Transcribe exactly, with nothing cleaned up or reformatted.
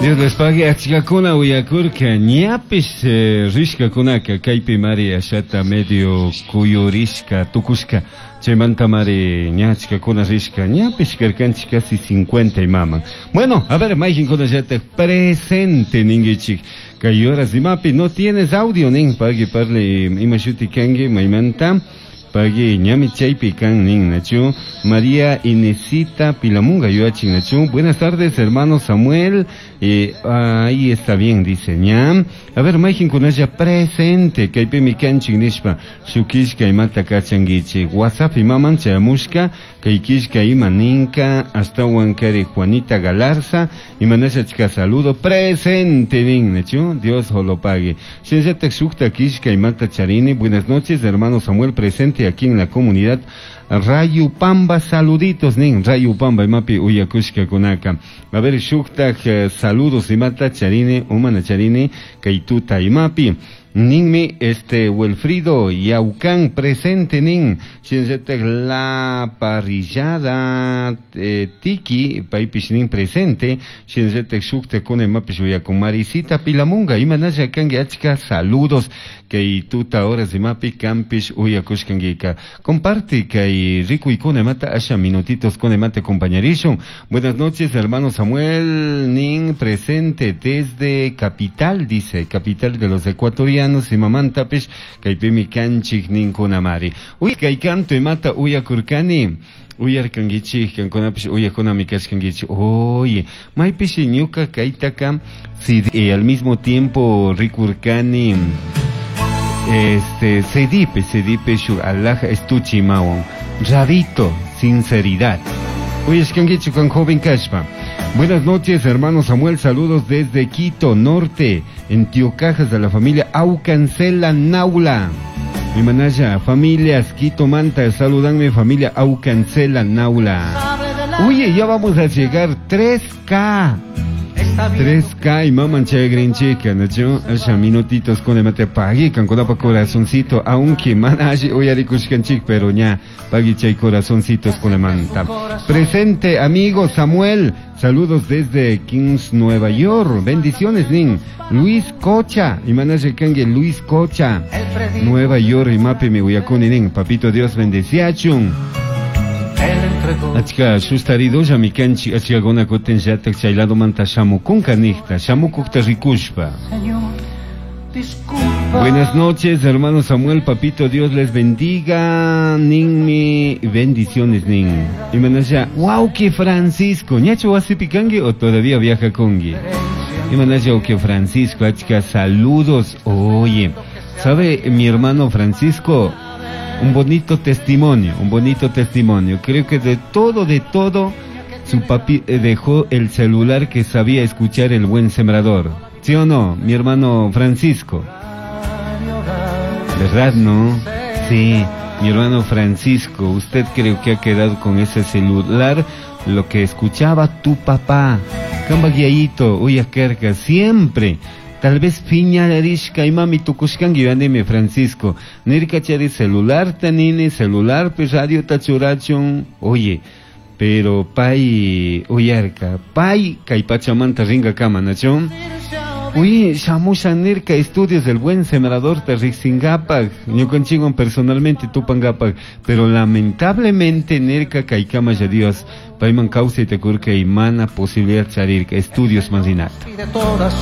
Dios les pague achkakuna uyakurka ñapish eh, rishkakunaka kaypi mari ashata medio kuyurishka tukushka chaymanta mari ña achkakuna rishka ñapish karkanchik casi cincuenta imaman. Bueno, a ver, mayqinkunallatak presente ninkichik kay horas imapi. "No tienes audio" nin. Pagui parle ima shuti kanki maymanta pagui ñami chaypi kan nin nachu. María Inesita Pilamunga yuachin nachu. "Buenas tardes, hermano Samuel". eh, ahí está bien, dice ñam. A ver, mayqinkunalla presente kaypimi kanchik nishpa shuk killka imata kachankichik WhatsApp imaman chayamushka kay killka ima ninka ashtawan kari Juanita Galarza imanasha chika saludo presente nin nachu. Dios lo pague. Shinallatak shukta killka imata charini. "Buenas noches, hermano Samuel, presente aquí en la comunidad Rayupamba, saluditos" nin. Rayupamba imapi uyakushkakunaka. A ver, shuktak eh, saludos imata charini umana charini kay tuta imapi. Ninmi este Wilfrido Yaucán presente nin. Shinallatak la parrillada eh, Tiki paypish nin presente. Shinallatak shuktakuna imapish uyakun. Marisita Pilamunga imanalla kanki, achka saludos kay tuta horas imapi kampish uyakushkankika. Comparte kay rikuykuna imata asha minutitos kuna imata acompañarishun. "Buenas noches, hermano Samuel" nin, "presente desde capital", dice, capital de los ecuatorianos imamantapish kaypimi kanchik ninkunamari. Uy, kay canto imata uyakurkani uyarkankichik kankunapish uyakunami kashkankichik. Oye, maypishi ñuka kaytaka C D, al mismo tiempo rikurkani este C D C D shuk alhaja estuche imawan Radito Sinceridad uyashkankichik kan joven kashpa. "Buenas noches, hermano Samuel, saludos desde Quito Norte, en Tiocajas, de la familia Aucancela Naula". Mi manaya, familias Quito Manta, saludanme familia Aucancela Naula. Oye, ya vamos a llegar tres K. tres K y maman chagrinchica, ¿no? Asha minutitos con el mate pagui, kan pa corazoncito, aunque mana alli uyarikushkanchik, pero ña, pagui chay corazoncitos con el manta. "Presente, amigo Samuel, saludos desde Kings, Nueva York. Bendiciones", nin. Luis Cocha, y manaya kangue Luis Cocha. Nueva York y mapi mi uyakuni nin. Papito Dios bendeciachun. Achka sustaridolla mi kanchik achkakuna kutin llatak chay ladomanta shamukunka nijta shamukukta rikushpa. "Buenas noches, hermano Samuel, papito Dios les bendiga, ninmi, bendiciones nin". Y manaya, que Francisco, ¿ñachu wasipi kanki o todavía viaja congi? Y manaya, que Francisco, achka saludos. Oye, ¿sabe mi hermano Francisco? Un bonito testimonio, un bonito testimonio. Creo que de todo, de todo, su papi eh, dejó el celular que sabía escuchar El Buen Sembrador. ¿Sí o no, mi hermano Francisco? ¿Verdad, no? Sí, mi hermano Francisco, usted creo que ha quedado con ese celular lo que escuchaba tu papá. Kamba guiayito, uyakarka, siempre. Tal vez piñarishka imami tukushkanki yanimi Francisco. Nirkachari celular tanini, celular pe radio tachurachun. Oye, pero pay uyarka, pay kay pachamanta ringa kama, nachon? Uy, shamusha nirka estudios del Buen Sembrador te riqsingapak, ñukanchikwan personalmente tupangapak, pero lamentablemente nirka kaykama ya Dios payman kawsayta kurka y mana posibilidad charirka estudios manrinata. Y de todas